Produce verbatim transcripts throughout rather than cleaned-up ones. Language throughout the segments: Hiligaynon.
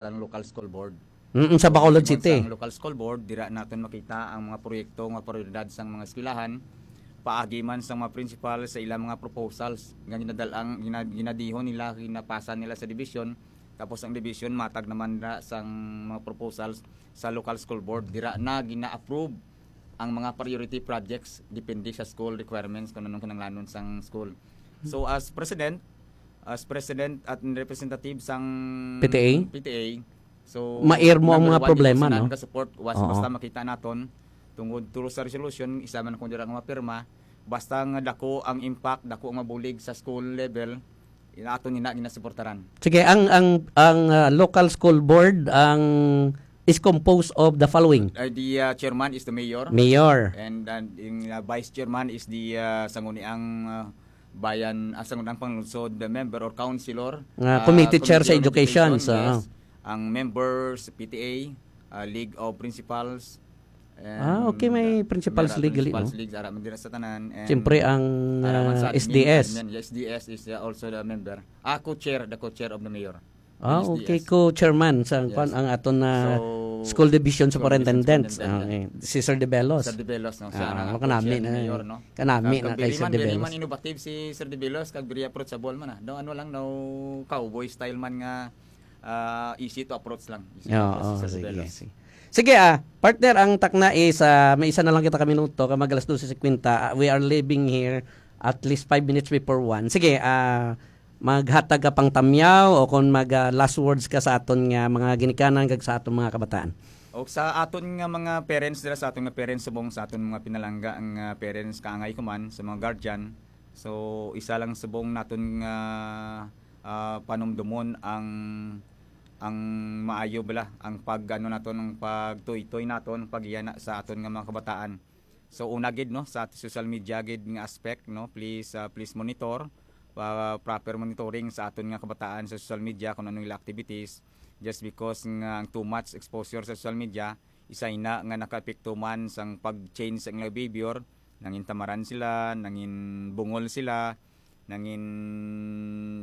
ang local school board. Mm, sa Bacolod Tungod City. Sa local school board, dira naton makita ang mga proyekto nga prioridad sang mga eskwelahan, paagi man sang mga principal sa ilang mga proposals nga ginadalang, gina-, ginadihon nila, ginapasa nila sa division, tapos ang division matag naman na sang mga proposals sa local school board, dira na gina-approve ang mga priority projects depende sa school requirements kung anong kinahanglanon sang school. So as president, as president at representative sang P T A? P T A, so Mair mo ang number mga one, problema, ipasinan no? Ka support, was, Oo. Basta makita naton tungod to sa resolution, isa man kung dira nga mapirma, basta nga dako ang impact, dako ang mabulig sa school level, ina-, aton ina ginasuportaran. Sige, ang, ang, ang, ah, local school board ang is composed of the following. Uh, the, uh, chairman is the mayor. Mayor. And, uh, yung, uh, vice chairman is the, uh, Sangguniang, uh, Bayan, uh, Sangguniang Panlungsod member or councilor. Nga Uh, committee chair sa committee on education, education, so, yes. Ang members, P T A, uh, League of Principals, and, Ah, okay, may uh, principals meron league gali, principals no? League, ara man dira sa tanan, and Siyempre, ang, ara man sa uh, admin, S D S. Admin, yes, S D S is, uh, also the member. Ah, co-chair, the co-chair of the mayor. Ah, Yes, okay, yes. Co-chairman sa Yes. kwan, ang aton na So, school division school division superintendent. Superintendent, Ah, yes. Eh, si Sir De Bellos. Sir De Bellos, no? Siya Ah, na ang makanami co-chair ni na, Mayor, no? Kanami Kag na kay very Sir man, De very Bellos. Man innovative si Sir De Bellos, kag very approachable man, ah. No, ano lang, no, cowboy style man nga, ah, easy to approach lang. Easy to Oo, approach si Sir De sige, Bellos. Sige. Sige, ah, partner, ang takna is, ah, may isa na lang kita ka minuto, kag mag alas dose cincuenta. Ah, we are leaving here at least five minutes before one. Sige, ah, maghatag ka pang tamyaw o kung mag, ah, last words ka sa aton nga mga ginikanan kag sa aton mga kabataan. O sa aton nga mga parents dira, sa aton nga parents subong, sa aton mga pinalangga nga parents, kaangay ko man sa mga guardian. So, isa lang subong naton nga, ah, panumdumon ang, ang maayo bala, ang pag, ano naton, ang pagtuytoy naton, pag-iyana sa aton nga mga kabataan. So, una gid, no, sa social media gid nga aspect, no, please, ah, please monitor, ah, proper monitoring sa aton nga kabataan sa social media kung anong ila activities. Just because nga ang too much exposure sa social media, isa ina nga nakaepekto man sang pag-change sa ila behavior, nangin tamaran sila, nangin bungol sila, nangin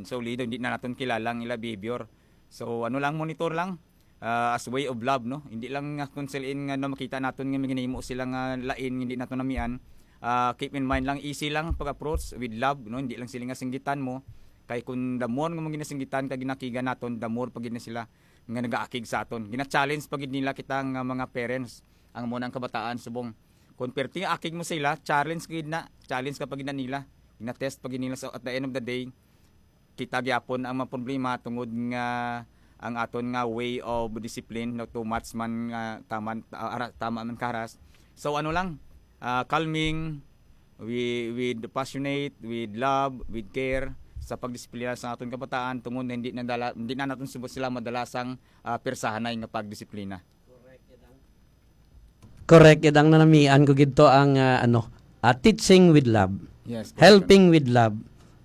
solid, hindi na naton kilala ang ila behavior. So, ano lang, monitor lang, ah, as way of love, no? Hindi lang nga kung sila nga, no, makita naton nga may ginahimo sila nga lain, hindi naton namian. Ah, keep in mind lang, easy lang pag-approach with love, no? Hindi lang sila nga singgitan mo. Kay kung the more nga mo ginasinggitan kag ginakigan naton, the more pa gid na sila nga nagaakig sa aton. Gina-challenge pa gid nila kita nga mga parents, ang mo nang kabataan subong. Kung perti nga akig mo sila, challenge gid na, challenge ka pa gid na nila. Gina-test pa gid nila. So, at the end of the day, kita gyapon ang mga problema tungod nga ang aton nga way of discipline, no, too much man nga tama, ah, ara-, tama man karas. So, ano lang, ah, calming, wi-, with passionate, with love, with care sa pagdisiplina sa aton kabataan, tungod na hindi na dala, hindi na naton subot sila madala sang, ah, pirsahanay nga pagdisiplina. Correct, yun ang nanamian ko gid to ang, ah, ano, ah, teaching with love, Yes, correct. Helping with love,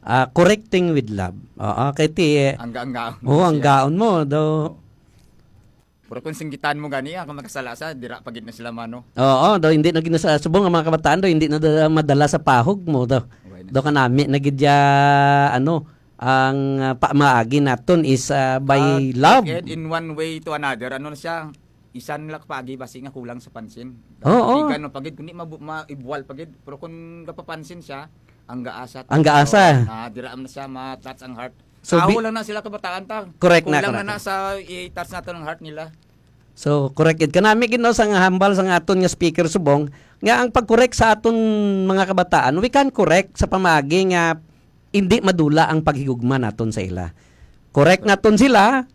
ah, correcting with love. Oo, kay ti, eh, Ang gaang-gaon. Oo, ang Yes. gaon mo, do. Pero kung singgitan mo gani, ah, kung makasala sa, dira pa gid na sila mano. Oo, do, hindi na gid na sa, subong ang mga kabataan, do, hindi na da-, madala sa pahog mo, do. Okay na. Do kanami na gid ya, ano, ang, ah, pamaagi naton is, ah, by Ah, love. Ed, in one way to another, ano na siya, isa nila kapagi basi nga kulang sa pansin. Oo. Tigan mo pagid, kundi mabu-, maibuwal pagid. Pero kung gapapansin siya, ang gaasa. Ang gaasa. Ah, dira man na siya ma-touch ang heart. So, Aho bi- lang na sila kabataan ta. Correct na, Kulang na correct. na sa i-touch naton ang heart nila. So, correct gid. Kanami gid, no, sa nga hambal sa nga aton nga speaker subong, nga ang pag-correct sa aton mga kabataan, we can correct sa pamaagi nga hindi madula ang paghigugma naton sa ila. Correct naton sila,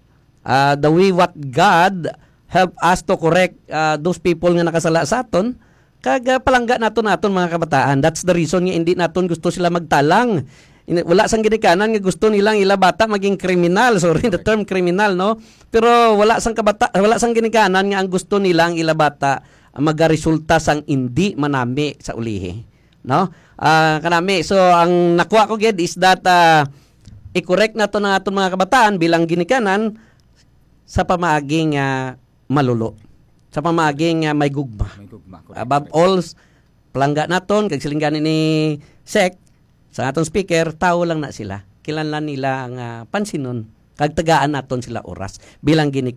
ah, the way what God help us to correct, ah, those people nga nakasala sa aton, kag, ah, palangga naton aton mga kabataan. That's the reason nga hindi naton gusto sila magtalang. Ini-, wala sang ginikanan nga gusto nilang ila bata maging kriminal. Sorry, the Correct. term kriminal, no? Pero wala sang kabata-, wala sang ginikanan nga ang gusto nila ang ila bata magaresulta sang indi manami sa ulihi, no? Ah, kanami. So, ang nakuha ko gid is that, ah, i-correct naton ang aton mga kabataan bilang ginikanan sa pamaagi nga malulo, sa pamaagi nga may gugma. May gugma, correct, Above correct. all, palangga naton, kag siling gani ni Sec, sa aton speaker, tao lang na sila. Kinahanglan nila nga pansinon Kag tagaan naton sila oras. Bilang ginikanan